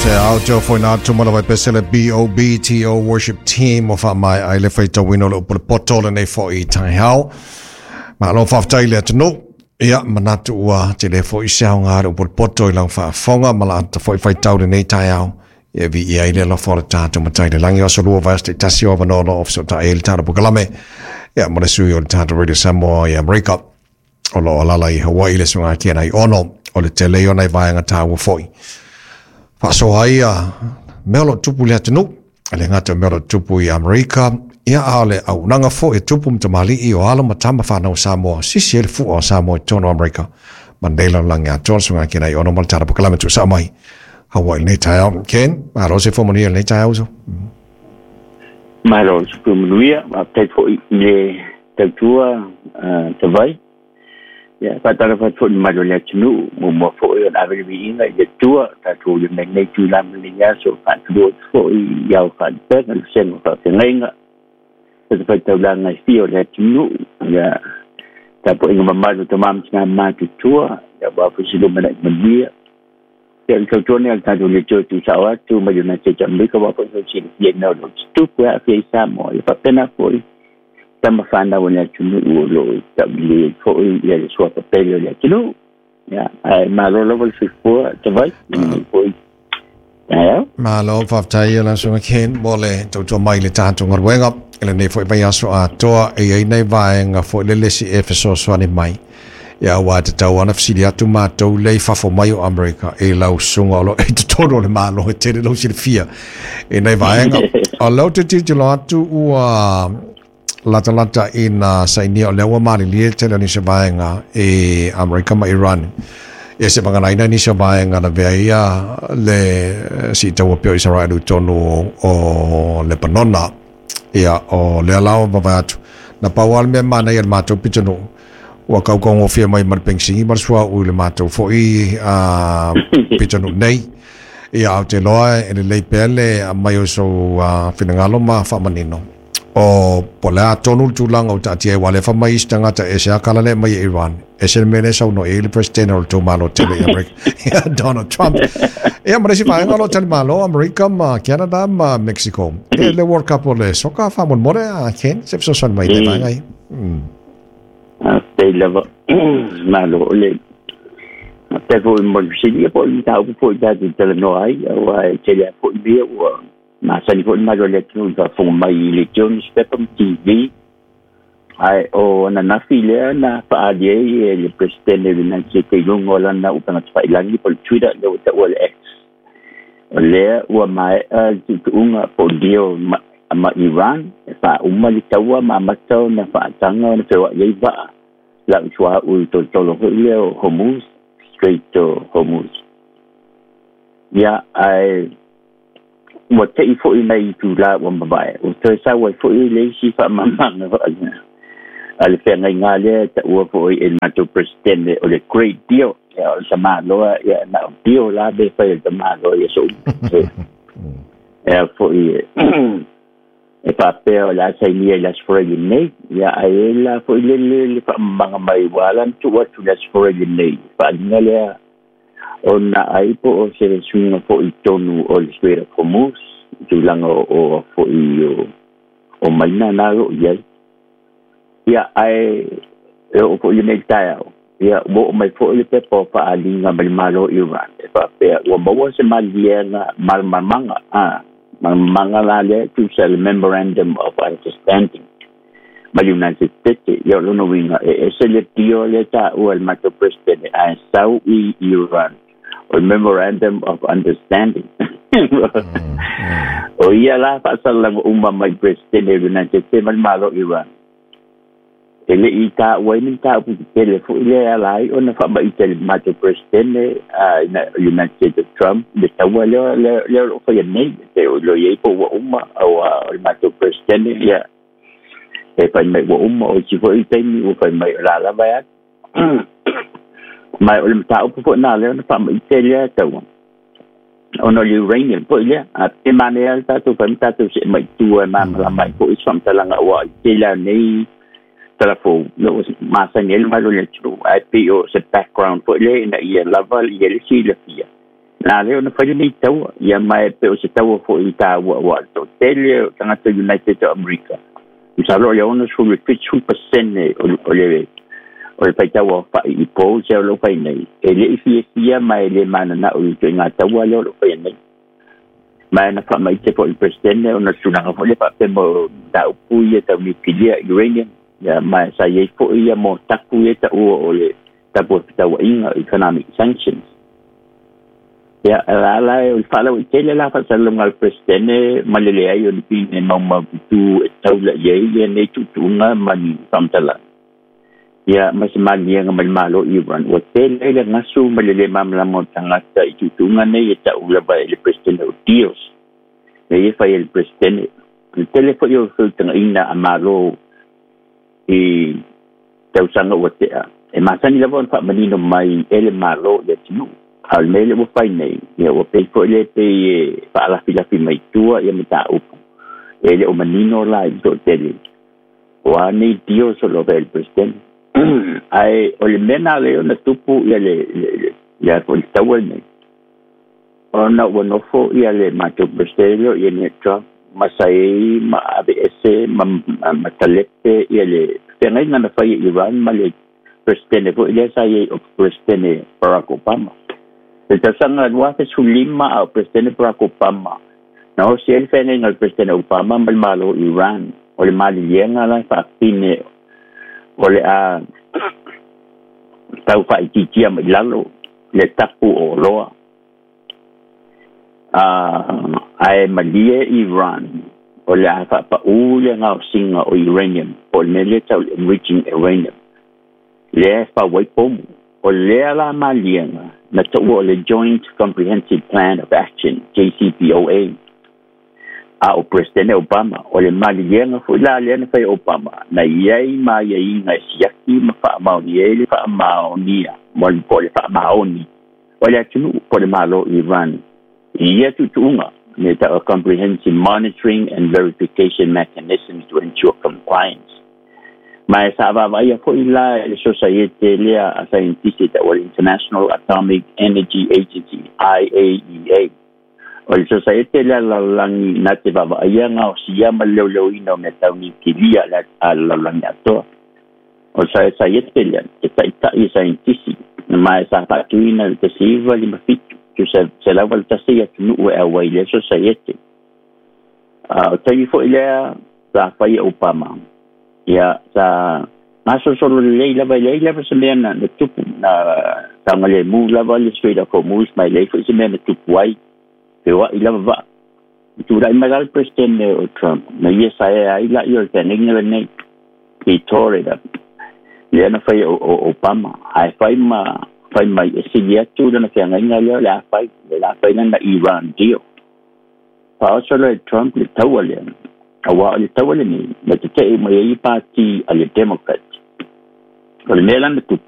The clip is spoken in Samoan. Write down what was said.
Se au te ofo ina atu mala vai pese le BOBTO Worship Team o wha mai ai le whaitauina o le upu le poto le nei fo i tai hao. Ma lo whaftai le atunu. Ia, manatu ua te le fo i se au ngā le upu le poto i lau whaafonga ma la ata fo i whaitau le nei tai au. Ia vi i ai le alofa o le tātou matai le langi o aso lua vai aso tasi o avanoa o ofisa o ta e le tātou pokalame. Ia, mo le sui o le tātou Radio Samoa i Amerika. O lo o alala i Hawaii le suga ki ana i ono o le tele ia o nai vaega tāua foi. Faasoa ai ia mea o lo o tupu i le atunuu, e le gata o mea o lo o tupu i Amerika, ia a o le auaunaga foi e tupu ma tamalii o alo ma tama fanau o Samoa, sisi ai le fua o Samoa i totonu o Amerika. Ma nei lalolagi atoa le suga ki ana i ono ma le tala pokalame tuusao mai Hawaii i lenei taeao. Ken, malo se fua manuia i lenei taeao uso. Malo le soifua manuia, faafetai foi i le tautua Tavai. Ia, faatalofa atu foi i le mamalu o le atunuu, muamua foi ona ave le viiga i le Atua, tatou ia mai lenei itula ma lenei aso, faatulua atu foi i ao faalupega, le vasega o faafeagaiga, fatafaitaulaga e fia o le atunuu, ia, tapuaiga mamalu a tama ma tina matutua, ia, aua foi se lumanai manuia. Ia, o le tautua lenei a le tatou Leitio e tuusao atu mai le United States of America, aua foi e silafia i mea o lo o tutupu e aafia i Samoa. Ia faapena foi tama fanau o le atunuu o lo o taulelei ai foi ia le suafa pele o le atunuu. Ia, ae malo lava le soifua Tavai, i lenei foi taeao. Malo, faafetai ia lau Susuga Ken mo le tautua mai i le tatou galuega i lenei foi vaiaso atoa. E i ai nai vaega foi lele se i e fesoasoani mai. Ia aua e tatau lava ona fesili atu matou lea i fafo mai o Amerika i lau susuga o lo o i totonu o le Malo e tele lou silafia i nei vaega. O lea ou te tilotilo atu ua latalata ina sainia o lea ua malilie le tele o nisi o vaega i Amerika ma Iran. Ia se vaganaina nisi o vaega na vea ia le siitaua pea o Isaraelu i totonu o Lebanona. Ia, o lea la ua vavae atu. Na pau lava le mea manaia i le matou pitonuu, ua kaukaugofie mai ma le penisini ma le suauu i le matou foi pitonuu nei. Ia, ae ou te iloa e lelei pea le aumai o sou finagalo ma faamanino. O, po o le a tonu le tulaga ua taatia ai, aua o lea e fai mai isi tagata, e ese lava kala lea e aumai e Iran, ese le mea lea e saunoa i ai le Peresetene o le tou Malo tele i Amerika, ia Donald Trump. Ia, ma le isi vaega o lo o talimalo Amerika ma Canada ma Mexico. E le World Cup o le soka faamolemole a Ken, se fesoasoani mai i le vaega ia. Faafetai lava. Malo o le faafetai foi mo le fesili ia po o le mataupu foi tatou te talanoa ai, aua e tele lava foi mea ua masani foi le mamalu o le atunuu i le faafofoga mai i leitio, newspaper ma TV. Ae o ananafi lea na faaali ai e le Peresetene o le United States i luga o lana upega tafailagi po o le Twitter lea ua taua le X, o lea ua maea le tuutuuga po o deal ma, ma Iran e faauma le taua ma amata ona faataga ona feoai ai vaa lau suauu i tolotolo foi lea o Hormuz, Strait o Hormuz. Ia, ae ua te'i foi nai itulā ua mavae, ua toe sau ai foi le isi faamamaga a le feagaiga lea e taua foi e le matou Peresetene o le Great Deal. Ia, o le tamaloa, ia, na o deal la be fai e le tamaloa i aso uma. E a foi e faapea o le a sainia i le Aso Faraile nei, ia, ae i ai la foi le le faamamaga mai ua ala ona tuu atu i le Aso Faraile nei, faaaliga lea ona ai po o se suiga foi i totonu o le Strait of Hormuz, i tulaga o foi o maina na o lo o i ai. Ia, ae e oo foi i lenei taeao, ia, ua oo mai foi le pepa o faaaliga mai le Malo o Iran e faapea ua maua se maliliega malamalamaga, a, malamalamaga la lea e tusa le Memorandum of Understanding ma le United States. Ia, o lona uiga, e ese le deal lea e taua e le matou Peresetene ae sau i Iran o le Memorandum of Understanding. O ia la faasalalaga uma mai le Peresetene o le United States ma le Malo o Iran. E le i taua ai ni mataupu tetele foi lea e ala ai ona faamaite e le matou Peresetene United States o Trump le taua lea lea o lo o faia nei. E o lo o i ai po ua uma aua o le matou Peresetene ia e fai mai ua uma, o isi foi taimi ua fai mai o la lava e alu. Ma o le mataupu foi na lea ona faamaite lea taua ona o le uranium foi lea. A pe manaia le tatou fai ma tatou see mai i tua e malamalama ai foi se faamatalaga aua i tele lava o nei tala fou ua masani ai le mamalu o le atunuu, ae pei o se background foi lea ina ia lava ia le silafia. Na lea ona fai lenei taua, ia ma e pei o se taua fo'i taua uā le to'atele o tagata United of America. Masalo o le 67% o le faitau aofa'i i polls o lo'o fai nei e le'i fiafia ma e lē manana'o i ituaiga taua lea o lo'o faia nei. Ma na faamaite fo'i le Peresetene ona tulaga fo'i le faapea mo mataupu ia tau niukilia uranium, ia ma sa iai fo'i ia mo tapu ia ta'ua o le tapu o fetaua'iga, economic sanctions. Ia la la o le faalauaitele la faasalalauga a le Peresetene ma le leai o ni pine maumaututu e taula i ai ia nei tuutuuga ma ni faamatalaga ia ma se maliega mai le Malo Iran ua tele ai le gasu ma le lē malamalama o tagata i tuutuuga nei e ta'u lava e le Peresetene o deals nei e fai e le Peresetene. Le tele fo'i o feutagaʻina a Malo i tausaga ua te'a e masani lava ona faamanino mai e le Malo i atunuu, a o le mea le ua fai nei, ia ua pei fo'i le pei e faalafilafi mai tua ia mataupu e le o manino la i le to'atele o a nei deals o lo fai e le Peresetene. Ae o le mea na lea ona tupu ia le fo'i le taua lenei ona ua nofo ia le matou Peresetene lea ia ne Trump ma sa iai ma aveese ma talepe ia le feagaiga na fai e Iran ma le Peresetene fo'i lea sa iai o Peresetene Barack Obama. Le tausaga 2015 a o Peresetene Barack Obama, na osi ai le feagaiga o le Peresetene Obama ma le Malo Iran o le maliliega la faafine o le a tau faaitiitia mai lalo le tapu o oloa ae malie Iran o le a faapaʻū le gaosiga o uranium po o le mea lea tau le enriching uranium lea e fau ai pomu. O lea la maliega na taua o le Joint Comprehensive Plan of Action, JCPOA, a o Presidente Obama. O le maliliega fo'i la lea na fai Obama na iai maiaiga e siaki ma faamaoni ai le faamaonia mo po o le faamaoni o le atunuu po o le Malo Iran i ia tuutuuga me ta'u comprehensive monitoring and verification mechanisms to ensure compliance. Ma e sa vaavaia fo'i la e le sosaiete lea a saientisi ta'ua le International Atomic Energy Agency, IAEA. O le sosaiete lea lalolagi na te vaavaaia gaosia ma le leoleoina o mea tau niukilia a le lalolagi atoa. O le saiete lea e ta'ita'i e saientisi ma e sa faatuina le 1957 181 atunuu e auai lea sosaiete. O taimi fo'i lea sa fai e Obama, ia sa gasolosolo lelei lava e leai lava se mea na tupu na saogalemu lava le Strait of Hormuz ma e leai fo'i se mea na tupu ai feoa'i lava vaa. Tula'i mai la le Peresetene o Trump na ia saea ai la'i o le feagaiga lenei i tore up lea na fai o Obama ae fai ma fai mai e sili atu lana feagaiga lea o le a fai le la fai lana Iran deal. Faaoso loa e Trump le taua lea auā o le taua lenei na tete'e mai ai pati a le Democrat. O le mea lana tupu